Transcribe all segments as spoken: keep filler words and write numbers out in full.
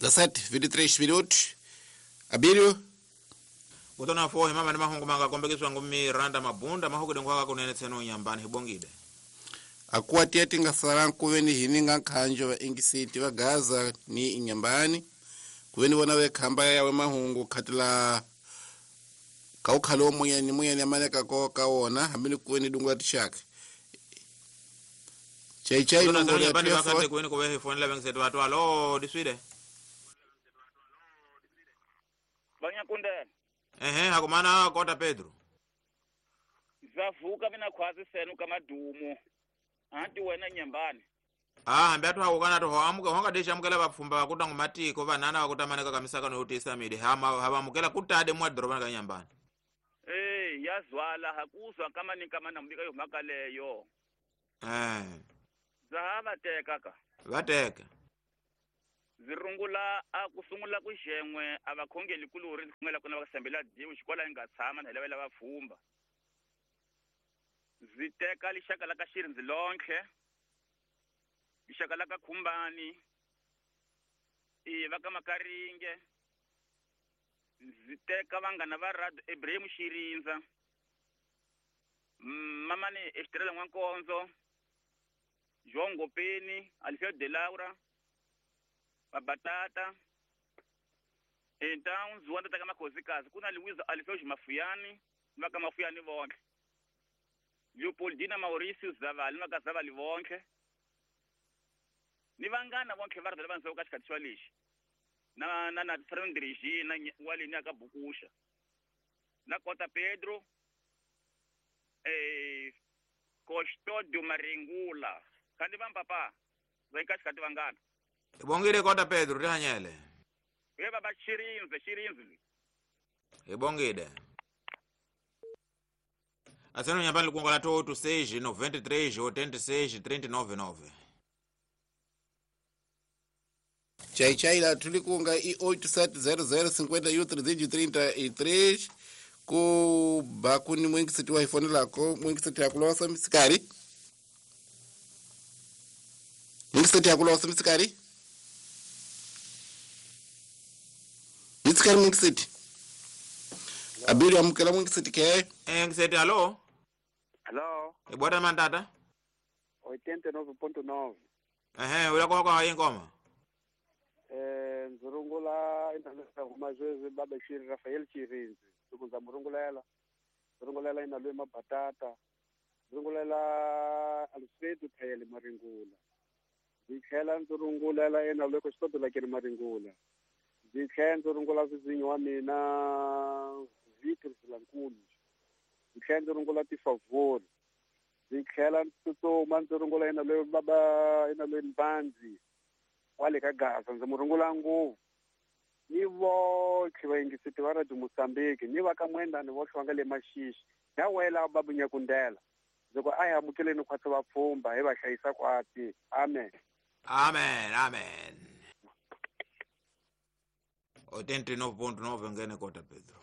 dezessete, vinte e três minutos. Abílio. Kutona fo himama ni mahungu manga kombekiswa ngumi randa mabunda mahuku dengwa kunene tseno nyambani hibongide. Akuwa tieti nga saran kuveni hininga nkhanjo va ingisiti va Gaza ni inyambani. Kuveni vona ve khamba yawe mahungu khatila kaukhalo muyeni muyeni amaneka ko kaona hambi kuveni dungwa tishaka. Chai chai nomboro ya telefoni kuveni kuve phone la bengisetu watu alo diswide. Banyakundela. Ehe hakumana kota Pedro. Zavuka mina khwazi senu kamadumo. Anti wena nyambani. Ah hambi atu hakukana to amuka honga desha amukela vapfumba vakuta ngumatiko vanana vakutamaneka kamisaka noyotisa mide hama havamukela kutade mwa doroba ka nyambani. Eh yazwala hakuzwa kama ni kama nambika yo makaleyo. Eh. Zahava teka ka. Vateka. Zirungula akusungula kuxenwe abakhongeli kuluri khongela kuna vakasembela diwu xikola inga tshama na lavela vapfumba. Ziteka lixaka la ka Xirindzi lonke. Lixaka la ka Khumbani. I va ka Makaringe. Ziteka vangana va Rad Ibrahim Xirindza. Mamani Estrela Nwankonzo. João Gopeni, Alfredo de Laura. Babatata. Então zuanda taka makhosikazi kuna Luiz Alfredo Mafuyani, va ka Mafuyani vonke. Leopoldina Mauricio Zavali, va ka Zavali vonke. Ni vangana vonke va ri va ndzhaku ka xikhathi xa lexi. Na na na Fernando Regina wale ni aka Bukusha. Na Kota Pedro eh Custódio Maringula. Kandi va papa va ka xikhathi vangana. Ibongile Kota Pedro rihanyele. Ye baba Xirinzi, Xirinzi. Ibongile. Aseno nyambani likunga la oito seis, noventa e três, oitenta e seis, trinta e nove, nove. Chai chai la tulikunga i oito sete zero zero cinquenta e um trezentos e trinta e três ku bakuni mwingi siti wa iPhone lako mwingi siti yakulosa misikari. Mwingi siti yakulosa misikari. Misikari mwingi siti. Abiri amukela mwingi siti ke. Eh ngiseti alo. Hello. Ibwata mandata. oitenta e nove ponto nove. Ehe, ulako kwa ingoma. Eh nzurungula inalesa kumazwezi baba Shiri Rafael Chirinzi. Tukunza murungulela. Murungulela inalwe mabatata. Murungulela Alfredo Thayele Maringula. Zikhela nzurungulela inalwe ko la ke Maringula. Zikhela nzurungula zizinyo wa mina Victor Silankulu. Zikhela nzurungula ti favor. Zikhela ntsutso nzurungula inalwe baba inalwe Mbanzi. Wale ka Gaza ndzi murungula ngopfu ni votlhe vayingiseti va Radio Mozambique ni va ka Mwendani votlhe va nga le Maxixi na wela babunyakundela ndzi ku a hi amukeleni khwatsi vapfhumba hi va hlayisa kwati. Amen. Amen, amen. oitenta e nove ponto nove ngene Kota Pedro.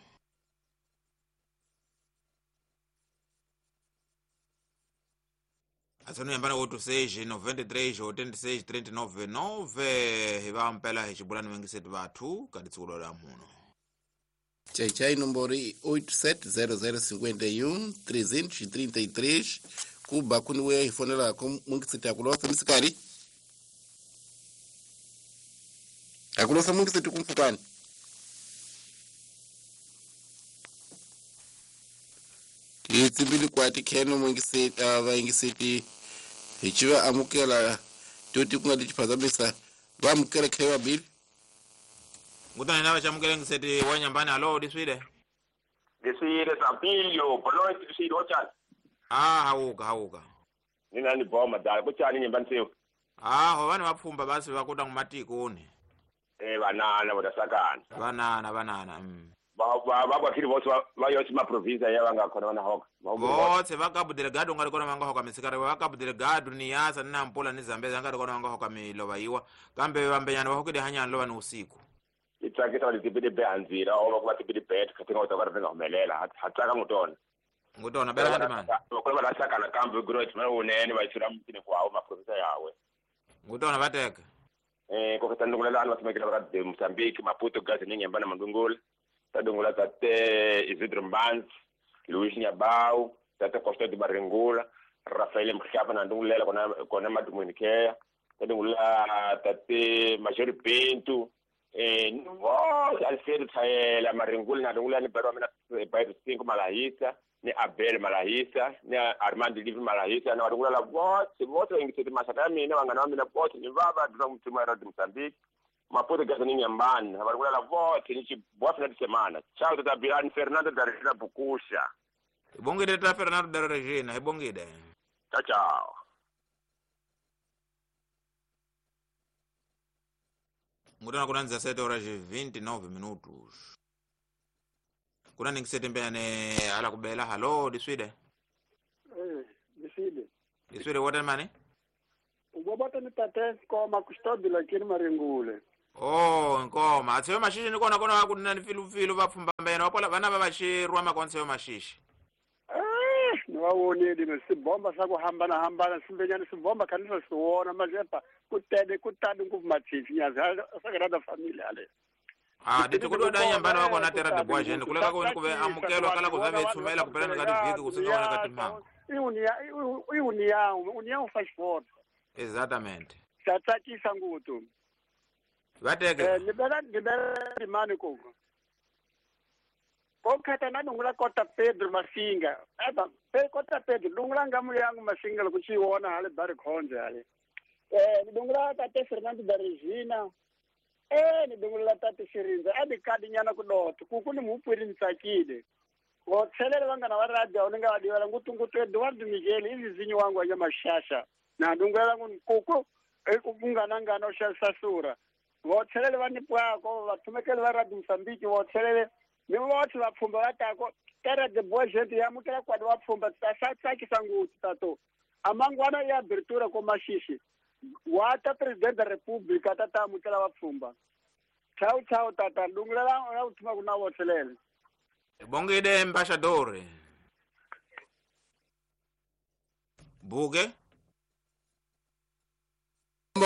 Asano yambana oito seis, noventa e três, oitenta e seis, trinta e nove, nove hiva mpela hichibulani wengisetu vathu kaditsukulo la muno. Chai chai nombori oito sete zero zero cinquenta e um, trezentos e trinta e três kuba kuniwe ifonela ko mungiseti akulosa misikari. Akulosa mungiseti kumfukani. Titsimbili kwati kheno mungiseti vaingiseti hichiva amukela toti kunga tichiphazamisa va amukela khewa bili. Ngutana nawe chamukela ngiseti wa nyambani alo diswile. Diswile Sampilio, bolo diswile ochani. Ah hauka hauka. Nina ni boma dala kuchani nyambani seo. Ah ho vana vapfumba basi vakuta ngumatiko ni. Eh banana bodasakana. Banana banana. Mm. Ba ba ba kiri bose ba yose ma province ya banga khona bana hoka. Botse va Cabo Delgado ngari kona vanga hoka misikari va Cabo Delgado ni yasa ni Nampula ni Zambezi ngari kona vanga hoka milova iwa kambe vambenyana va hokile hanyana lova ni usiku. Itsakisa va tipidi behanzira o va tipidi bet khatinga u ta va ri humelela ha tsaka ngutona. Ngutona bela handi man. Ko va lasakana kambe growth ma unene va tsira mutini kwa ma province yawe. Ngutona vateka. Eh ko tandungula la va tumekela va de Mozambique, Maputo Gaza ni Nyambana Mandungula. Tadungula tate Isidro Mbanzi, Luis Nyabau, tate Costa de Barengula, Rafael Mkhapa na ndungulela kona kona madumunikea. Tadungula tate Major Pinto, eh no Alfredo Thaela Maringula na ndungula ni barwa mina Bairro cinco Malahisa, ni Abel Malahisa, ni Armando Livre Malahisa na ndungula la vote, vote ingisete mashaka mina vangana wa mina vote ni vava dra mtima ra Mozambique. Maputo Gaza ni Nyambana, varungula la vote ni boa final de semana. Tchau tata Bilani Fernando da Regina Bukusha. Ibongile tata Fernando da Regina, ibongile. Tchau tchau. Ngutana kuna dezessete horas e vinte e nove minutos. Kuna ningisete mbene ala kubela halo diswide. Eh, diswide. Diswide what mane? Ubabata ni tate koma custódio lakini Maringule. Oh, nkoma. Atseyo mashishi ni kona kona kunina ni filu filu vapfumba mbene wapola vana va vachirwa makonseyo mashishi. Eh, ni wawonile ni sibomba sa ku hambana hambana simbenyana sibomba kanisa siwona majepa kutede kutadi nguvu machichi nyazi sagrada familia ale. Ah, dito kudo da nyambana wako na terra de boa gente kuleka ko kuve amukelo kala kuzave tsumela kupelana ngati vhiki kusinga wana kati mango. Iunia iunia união faz força. Exatamente. Tatakisa ngutu. Vateke. Eh, libera libera mani koko. Kokata na dungula kota Pedro Masinga. Eba, pe kota Pedro dungula ngamu yangu Masinga lokuchiona hale bari khonje hale. Eh, dungula tate Fernando da Regina. Eh, ni dungula tate Shirinza. Abi kadi nyana kudoto. Kuku ni mupwiri ntsakile. Votselele vangana va radio uninga vadiwela ngutu ngutu Eduardo Miguel izizinyi wangu anya mashasha. Na dungula nkuku ekunganangana oshasasura. Votselele vanipwako vathumekele va radio Mozambique votselele ni votse vapfhumba vatako terra de boa gente yamukela kwadi vapfhumba tsakisa ngutsu tato amangwana ya abertura ko mashishi wata president da republica tata amukela vapfhumba chau chau tata dungula la uthuma kuna votselele. Bongide embaixador. Buge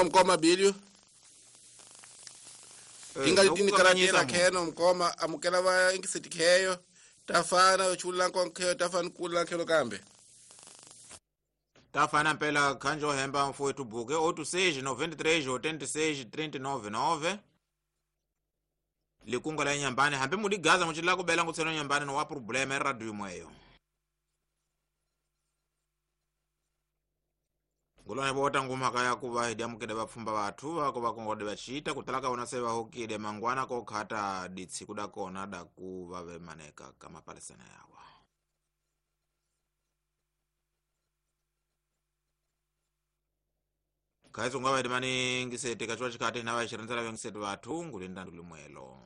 mkoma bilio tinga litini karatela kheno mkoma amukela va ingiseti kheyo tafana chula nkhonkheyo tafana kula khelo kambe tafana mpela khanjo hemba mfowethu buke oito seis noventa e três oitenta e seis trinta e nove nove likunga la nyambani hambe mudigaza muchila kubela ngutseno nyambani no wa problema radio imweyo Ngulone bota ngumhaka ya kuva hidi amukede vapfumba vathu vako vakongode vachita kutalaka vona se vahokile mangwana kokhata ditsi kuda kona da kuva vemaneka kamapalesana yawa. Kaizo ngava hidi maningi sete kachwa chikati na vachiranzala vengisete vathu ngulinda ndulumwelo.